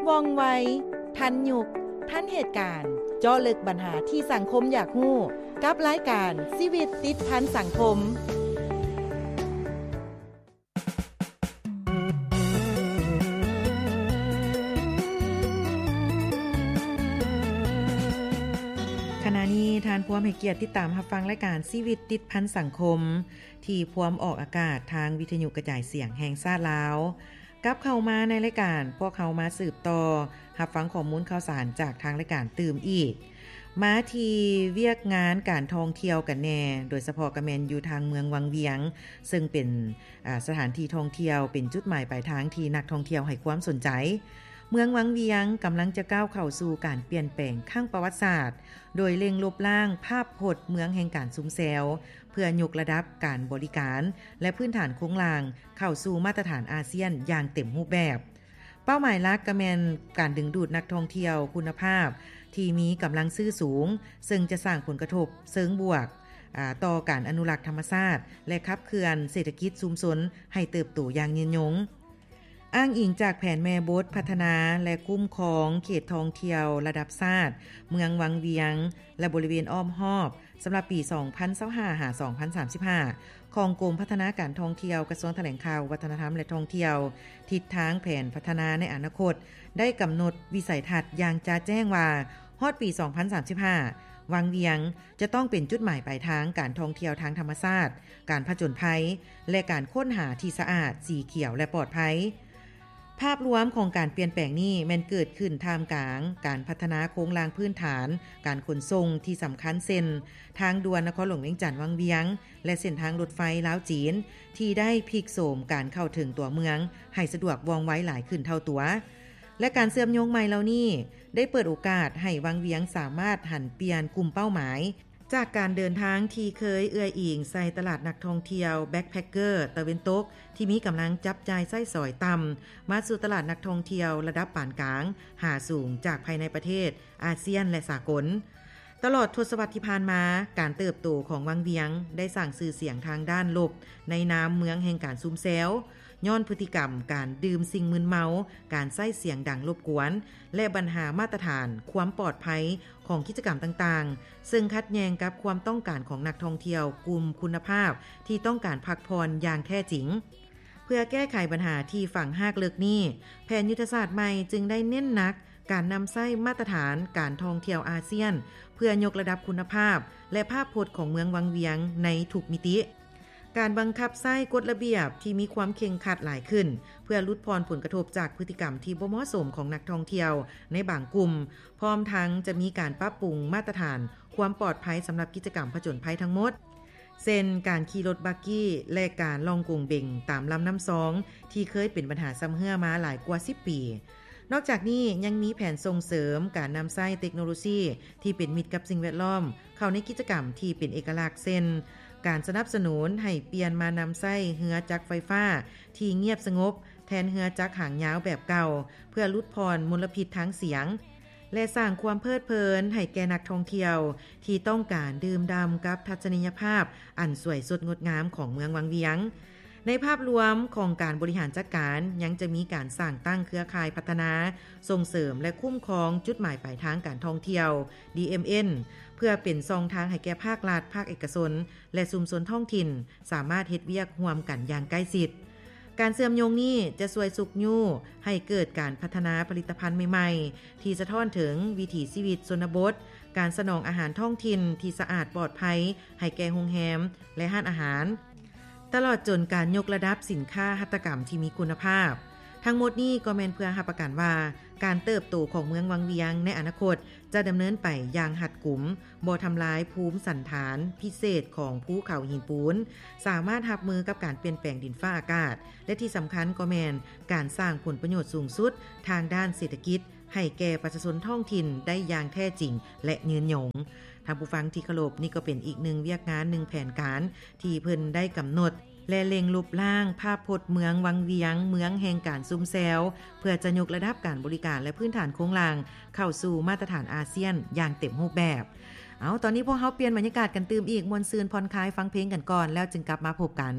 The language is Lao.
ວ່ອງໄວ, ທັນຍຸກ, ທັນເຫດການ, ເຈາະເລິກບັນຫາທີ່ສັງຄົມຢາກຮູ້ ກັບລາຍການຊີວິດຕິດພັນສັງຄົມ. ຂະນະນີ້ທ່ານພວມໃຫ້ກຽດຕິດຕາມຮັບຟັງລາຍການຊີວິດຕິດພັນສັງຄົມ ທີ່ພວມອອກອາກາດທາງວິທະຍຸກະຈາຍສຽງແຫ່ງຊາດລາວ. ກັບເຂົ້າມາໃນລາຍການ, ພວກເຮົາມາສືບຕໍ່ຮັບຟັງຂໍ້ມູນຂ່າວສານຈາກທາງລາຍການຕື່ມອີກ. ມາທີ່ວຽກງານການທ່ອງທ່ຽວກັນແດ່, ໂດຍສະເພາະກໍແມ່ນຢູ່ທາງເມືອງວັງວຽງ, ເຊິ່ງເປັນ ອາ ສະຖານທີ່ທ່ອງທ່ຽວ, ເປັນຈຸດໝາຍປາຍທາງທີ່ນັກທ່ອງທ່ຽວໃຫ້ຄວາມສົນໃຈ. ເມືອງວັງວຽງກຳລັງຈະກ້າວເຂົ້າສູ່ການປ່ຽນແປງຄັ້ງປະຫວັດສາດ, ໂດຍເລັ່ງລົບລ້າງພາບພົດເມືອງແຫ່ງການຊຸມແຊວ, ເພື່ອຍົກລະດັບການບໍລິການ ແລະ ພື້ນຖານໂຄງລ່າງເຂົ້າສູ່ມາດຕະຖານອາຊຽນຢ່າງເຕັມຮູບແບບ. ເປົ້າໝາຍຫຼັກກໍແມ່ນການດຶງດູດນັກທ່ອງທ່ຽວຄຸນນະພາບທີ່ມີກຳລັງຊື້ສູງ, ເຊິ່ງຈະສ້າງຜົນກະທົບເຊີງບວກ, ອາ, ຕໍ່ການອະນຸລັກທຳມະຊາດ ແລະ ຂັບເຄື່ອນເສດຖະກິດຊຸມຊົນໃຫ້ເຕີບໂຕຢ່າງຍືນຍົງ. ອ້າງອີງຈາກແຜນແມ່ບົດພັດທະນາ ແລະ ຄຸ້ມຄອງເຂດທ່ອງທ່ຽວລະດັບຊາດ ເມືອງວັງວຽງ ແລະ ບໍລິເວນອ້ອມຮອບ ສຳລັບປີສອງພັນຊາວຫ້າ ຫາ ສອງພັນສາມສິບຫ້າ ຂອງກົມພັດທະນາການທ່ອງທ່ຽວ ກະຊວງຖະແຫຼງຂ່າວ ວັດທະນະທຳ ແລະ ທ່ອງທ່ຽວ, ທິດທາງແຜນພັດທະນາໃນອະນາຄົດໄດ້ກຳນົດວິໄສທັດຢ່າງຈະແຈ້ງວ່າ ຮອດປີສອງພັນສາມສິບຫ້າ ວັງວຽງຈະຕ້ອງເປັນຈຸດໝາຍປາຍທາງການທ່ອງທ່ຽວທາງທຳມະຊາດ, ການຜະຈົນໄພ ແລະ ການຄົ້ນຫາທີ່ສະອາດ, ສີຂຽວ ແລະ ປອດໄພ. ພາບລວມຂອງການປ່ຽນແປງນີ້ແມ່ນເກີດຂຶ້ນທ່າມກາງການພັດທະນາໂຄງລ່າງພື້ນຖານການຂົນສົ່ງທີ່ສຳຄັນ ເຊັ່ນ ທາງດ່ວນນະຄອນຫຼວງວຽງຈັນວັງວຽງ ແລະ ເສັ້ນທາງລົດໄຟລາວ-ຈີນ ທີ່ໄດ້ພິກໂສມການເຂົ້າເຖິງຕົວເມືອງໃຫ້ສະດວກວ່ອງໄວຫຼາຍຂຶ້ນເທົ່າຕົວ ແລະ ການເຊື່ອມໂຍງໃໝ່ເຫຼົ່ານີ້ໄດ້ເປີດໂອກາດໃຫ້ວັງວຽງສາມາດຫັນປ່ຽນກຸ່ມເປົ້າໝາຍ ຈາກການເດີນທາງທີ່ເຄີຍເອື້ອຍອີງໃສ່ຕະຫຼາດນັກທ່ອງທ່ຽວແບັກແພັກເກີຕາເວັນຕົກ ທີ່ມີກຳລັງຈັບຈ່າຍໃຊ້ສອຍຕ່ຳ ມາສູ່ຕະຫຼາດນັກທ່ອງທ່ຽວລະດັບປານກາງຫາສູງ ຈາກພາຍໃນປະເທດ, ອາຊຽນ ແລະ ສາກົນ. ຕະຫຼອດທົດສະວັດທີ່ຜ່ານມາ, ການເຕີບໂຕຂອງວັງວຽງໄດ້ສ້າງຊື່ສຽງທາງດ້ານລົບໃນນາມເມືອງແຫ່ງການຊຸມແຊວ, ຍ້ອນພຶດຕິກຳການດື່ມສິ່ງມຶນເມົາ, ການໃຊ້ສຽງດັງລົບກວນ ແລະ ບັນຫາມາດຕະຖານຄວາມປອດໄພຂອງກິດຈະກຳຕ່າງໆ, ເຊິ່ງຂັດແຍ່ງກັບຄວາມຕ້ອງການຂອງນັກທ່ອງທ່ຽວກຸ່ມຄຸນນະພາບທີ່ຕ້ອງການພັກຜ່ອນຢ່າງແທ້ຈິງ. ເພື່ອແກ້ໄຂບັນຫາທີ່ຝັງຮາກເລິກນີ້, ແຜນຍຸດທະສາດໃໝ່ຈຶ່ງໄດ້ເນັ້ນໜັກການນຳໃຊ້ມາດຕະຖານການທ່ອງທ່ຽວອາຊຽນ ເພື່ອຍົກລະດັບຄຸນນະພາບ ແລະ ພາບພົດຂອງເມືອງວັງວຽງໃນທຸກມິຕິ. ການບັງຄັບໃຊ້ກົດລະບຽບທີ່ມີຄວາມເຄັ່ງຄັດຫຼາຍຂຶ້ນ ເພື່ອຫຼຸດຜ່ອນຜົນກະທົບຈາກພຶດຕິກຳທີ່ບໍ່ເໝາະສົມຂອງນັກທ່ອງທ່ຽວໃນບາງກຸ່ມ, ພ້ອມທັງຈະມີການປັບປຸງມາດຕະຖານຄວາມປອດໄພສຳລັບກິດຈະກຳຜະຈົນໄພທັງໝົດ, ເຊັ່ນ ການຂີ່ລົດບັກກີ້ ແລະ ການລ່ອງກົງເບັງຕາມລຳນ້ຳຊອງ ທີ່ເຄີຍເປັນບັນຫາຊຳເຮື້ອມາຫຼາຍກວ່າສິບປີ. ນອກຈາກນີ້ຍັງມີແຜນສົ່ງເສີມການນຳໃຊ້ເຕັກໂນໂລຊີທີ່ເປັນມິດກັບສິ່ງແວດລ້ອມເຂົ້າໃນກິດຈະກຳທີ່ເປັນເອກະລັກ ເຊັ່ນ ການສະໜັບສະໜູນໃຫ້ປ່ຽນມານຳໃຊ້ເຮືອຈັກໄຟຟ້າທີ່ງຽບສະຫງົບແທນເຮືອຈັກຫາງຍາວແບບເກົ່າ ເພື່ອຫຼຸດຜ່ອນມົນລະພິດທາງສຽງ ແລະ ສ້າງຄວາມເພີດເພີນໃຫ້ແກ່ນັກທ່ອງທ່ຽວທີ່ຕ້ອງການດື່ມດ່ຳກັບທັດສະນີຍະພາບອັນສວຍສົດງົດງາມຂອງເມືອງວັງວຽງ. ໃນພາບລວມຂອງການບໍລິຫານຈັດການ ຍັງຈະມີການສ້າງຕັ້ງເຄືອຂ່າຍພັດທະນາ, ສົ່ງເສີມ ແລະ ຄຸ້ມຄອງຈຸດໝາຍປາຍທາງການທ່ອງທ່ຽວ ດີເອັມເອັນ ເພື່ອເປັນຊ່ອງທາງໃຫ້ແກ່ພາກລັດ, ພາກເອກະຊົນ ແລະ ຊຸມຊົນທ້ອງຖິ່ນ ສາມາດເຮັດວຽກຮ່ວມກັນຢ່າງໃກ້ຊິດ. ການເຊື່ອມໂຍງນີ້ຈະຊ່ວຍຊຸກຍູ້ໃຫ້ເກີດການພັດທະນາຜະລິດຕະພັນໃໝ່ໆ ທີ່ສະທ້ອນເຖິງວິຖີຊີວິດຊົນນະບົດ, ການສະໜອງອາຫານທ້ອງຖິ່ນທີ່ສະອາດປອດໄພໃຫ້ແກ່ໂຮງແຮມ ແລະ ຮ້ານອາຫານ, ຕະຫຼອດຈົນການຍົກລະດັບສິນຄ້າຫັດຖະກຳທີ່ມີຄຸນນະພາບ. ທັງໝົດນີ້ກໍແມ່ນເພື່ອຮັບປະກັນວ່າ ການເຕີບໂຕຂອງເມືອງວັງວຽງໃນອະນາຄົດຈະດຳເນີນໄປຢ່າງຮັດກຸມ, ບໍ່ທຳລາຍພູມສັນຖານພິເສດຂອງພູເຂົາຫີນປູນ, ສາມາດຮັບມືກັບການປ່ຽນແປງດິນຟ້າອາກາດ ແລະ ທີ່ສຳຄັນກໍແມ່ນການສ້າງຜົນປະໂຫຍດສູງສຸດທາງດ້ານເສດຖະກິດໃຫ້ແກ່ປະຊາຊົນທ້ອງຖິ່ນໄດ້ຢ່າງແທ້ຈິງ ແລະ ຍືນຍົງ. ທ່ານຜູ້ຟັງທີ່ເຄົາລົບ, ນີ້ກໍເປັນອີກໜຶ່ງວຽກງານ, ໜຶ່ງແຜນການທີ່ເພິ່ນໄດ້ກຳນົດ ແລະ ເລັ່ງລົບລ້າງພາບພົດເມືອງວັງວຽງ, ເມືອງແຫ່ງການຊຸມແຊວ, ເພື່ອຈະຍົກລະດັບການບໍລິການ ແລະ ພື້ນຖານໂຄງລ່າງເຂົ້າສູ່ມາດຕະຖານອາຊຽນຢ່າງເຕັມຮູບແບບ. ເອົາ, ຕອນນີ້ພວກເຮົາປ່ຽນບັນຍາກາດກັນຕື່ມອີກ, ມ່ວນຊື່ນຜ່ອນຄາຍ, ຟັງເພງກັນກ່ອນ, ແລ້ວຈຶ່ງກັບມາພົບກັນ.